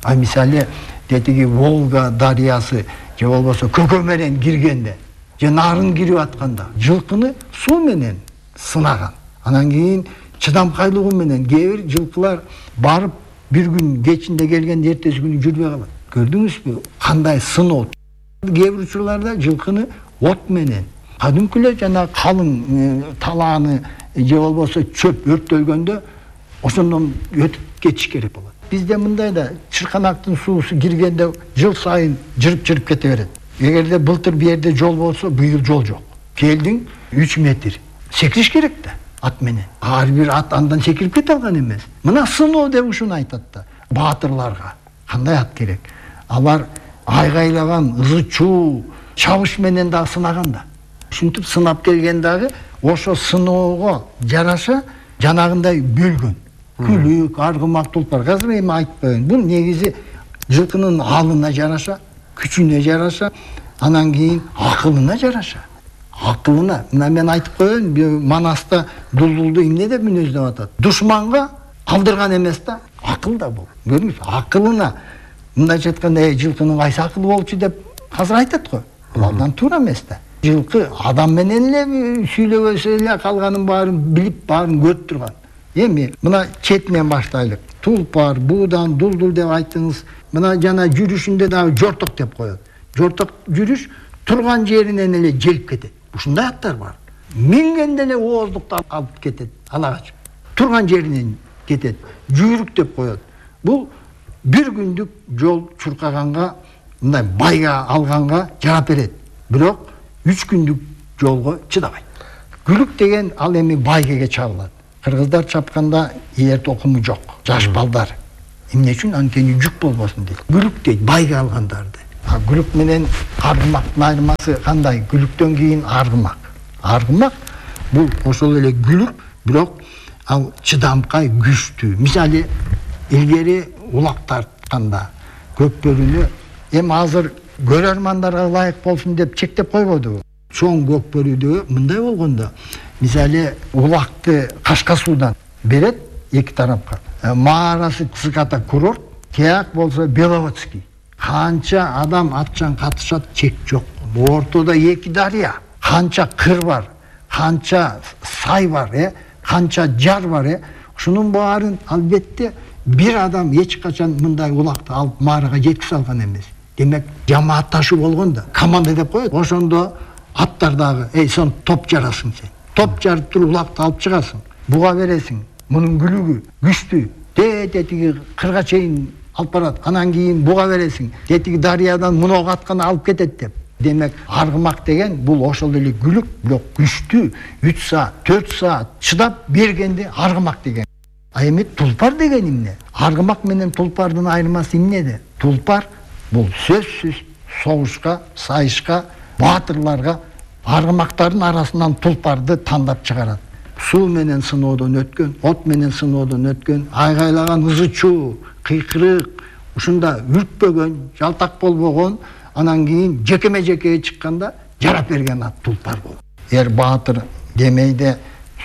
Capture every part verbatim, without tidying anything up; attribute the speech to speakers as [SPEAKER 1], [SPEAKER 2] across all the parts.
[SPEAKER 1] А мисалы детиги Волга дарыясы же болбосо көкө менен киргенде же нарын кирип атканда жылкыны суу менен сынаган. Анан кийин чыдамкайлыгы менен кээ бир жылкылар барып бир күн кечинде келгенде эртеси күнү жүрбөй калат. Көрдүңүзбү кандай сыноо? Кээ бир учурларда жылкыны от менен, кадимкилер жана калың талааны же болбосо чөп өрттөлгөндө ошондон өтүп кетиш керек болот. Бизде мындай да чырканактын суусу киргенде жыл сайын жырып-жырып кете берет. Эгерде былтыр бу жерде жол болсо, быйыл жол жок. Келдиң үч метр. Секириш керек да ат менен. Ар бир ат андан секирип кете алган эмес. Мына сыноо деп ушуну айтат да. Баатырларга кандай ат керек? Алар айгайлаган, ызы-чуу, чабыш менен да сынаган да. Ушинтип сынап келген дагы ошо сыноого жараша жанагындай бөлгөн. Күлүк, аргымак, тулпар. Азыр эми айтып коеюн. Бул негизи жылкынын алына жараша, күчүнө жараша, анан кийин акылына жараша. Акылына. Мына мен айтып коеюн, Манаста дулдулду эмне деп мүнөздөп атат? Душманга алдырган эмес да, акыл да бул. Көрдүңүзбү? Акылына. Мындайча айтканда, "Эй, жылкынын кайсы акылы болчу" деп азыр айтат го. Бул абдан туура эмес да. Жылкы адам менен эле сүйлөбөсө эле калганын баарын билип, баарын көрүп турган. Эми мына четинен баштайлык. Тулпар, буудан, дулдул деп айттыңыз. Мына жана жүрүшүндө дагы жорток деп коет. Жорток жүрүш турган жеринен эле желип кетет. Ушундай аттар бар. Мингенде эле ооздукту алып кетет, алагач. Турган жеринен кетет. Жүйрүк деп коет. Бул бир күндүк жол чуркаганга, мындай байга алганга жарап берет. Бирок үч күндүк жолго чыдабайт. Күлүк деген ал эми байгеге чабылат. Кыргыздар чапканда эр токуму жок. Жаш балдар. Эмне үчүн? Анткени жүк болбосун дейт. Күлүк дейт, байга алгандарды. А күлүк менен аргымактын айырмасы кандай? Күлүктөн кийин аргымак. Аргымак бул ошол эле күлүк, бирок ал чыдамкай, күчтүү. Мисалы, илгери улак тартканда көкбөрүнү эми азыр көрөрмандарга ылайык болсун деп чектеп койбодубу? Чоң көкбөрүдө мындай болгондо, мисалы, улакты Кашка суудан берет эки тарапка. Маарасы Циката курорт, тияк болсо Беловодский. Канча адам атчан катышат, чек жок. Ортодо эки дарыя, канча кыр бар, канча сай бар, э, канча жар бар, э. Ушунун баарын албетте бир адам эч качан мындай улакты алып маарага жеткизе алган эмес. Демек, жамаатташуу болгондо команда деп коет. Ошондо аттар дагы, "Эй, сен топ жарасың сен. Топ жарып туруп улакты алып чыгасың. Буга бересиң. Мунун күлүгү күчтүү. Тетиги кырга чейин алып барат. Анан кийин буга бересиң. Тетиги дарыядан мунуга атканы алып кетет" деп. Демек, аргымак деген бул ошол эле күлүк, бирок күчтүү, үч саат, төрт саат чыдап бергенде аргымак деген. А эми тулпар деген эмне? Аргымак менен тулпардын айырмасы эмнеде? Тулпар бул сөзсүз согушка, сайышка, баатырларга, аргымактардын арасынан тулпарды тандап чыгарат. Суу менен сыноодон өткөн, от менен сыноодон өткөн, айгайлаган ызы-чуу, кыйкырык, ушунда үртпөгөн, жалтак болбогон, анан кийин жекеме-жекеге чыкканда жарап берген ат тулпар болот. Эр баатыр демейде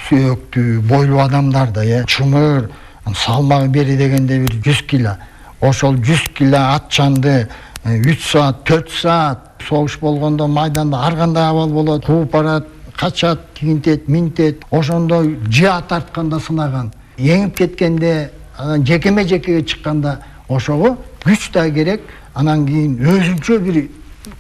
[SPEAKER 1] сөөктүү, бойлуу адамдарда, э, чымыр, салмагы бери дегенде бир жүз кило. Ошол жүз кило атчанды үч саат, төрт саат согуш болгондо майданда ар кандай абал болот, кууп барат, качат, тигинтет, минтет. Ошондо жаа тартканда сынаган. Эңип кеткенде, анан жекеме-жекеге чыкканда ошого күч да керек, анан кийин өзүнчө бир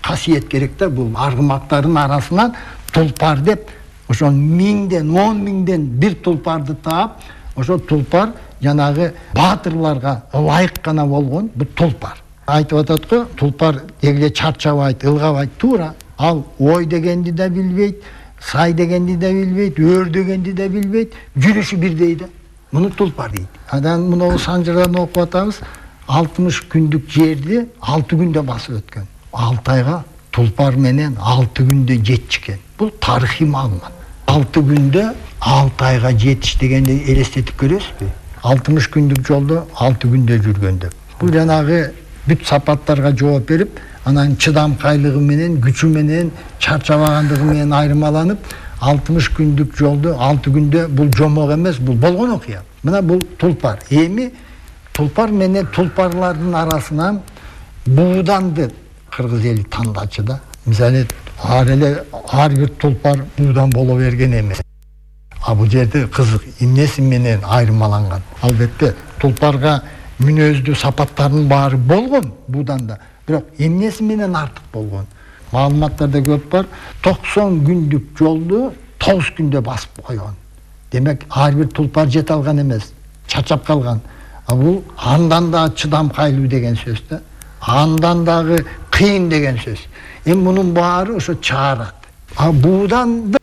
[SPEAKER 1] касиет керек да. Бул аргымактардын арасынан тулпар деп, ошо миңден, он миңден бир тулпарды таап, ошо тулпар жанагы баатырларга ылайык гана болгон бул тулпар. Айтып атат го, тулпар дегеле чарчабайт, ылгабайт, туура. Ал ой дегенди да билбейт, сай дегенди да билбейт, өр дегенди да билбейт, жүрүшү бирдей да. Муну тулпар дейт. Анан муну Санжырдан окуп атабыз, алтымыш күндүк жерди алты күндө басып өткөн. алты айга тулпар менен алты күндө жетчү экен. Бул тарыхый маалымат. алты күндө алты айга жетиш дегенди элестетип көрөсүзбү? алтымыш күндүк жолдо алты күндө жүргөн деп. Бул жанагы бүт сапаттарга жооп берип, анан чыдамкайлыгы менен, күчү менен, чарчабагандыгы менен айырмаланып, алтымыш күндүк жолду алты күндө, бул жомок эмес, бул болгон окуя. Мына бул тулпар. Эми Тулпар менен тулпарлардын арасынан бууданды кыргыз эли тандачу да. Мисалы ар эле ар бир тулпар буудан боло берген эмес. А бул жерде кызык эмнеси менен айырмаланган. Албетте тулпарга мүнөздүү сапаттарынын баары болгон бууданда, бирок эмнеси менен артык болгон. Маалыматтарда көп бар. токсон күндүк жолду тогуз күндө басып койгон. Демек ар бир тулпар жете алган эмес, чачап калган. А бул андан да чыдамкайлуу деген сөз да. Андан дагы кыйын деген сөз. Эми мунун баары ошо чаарат. А буудан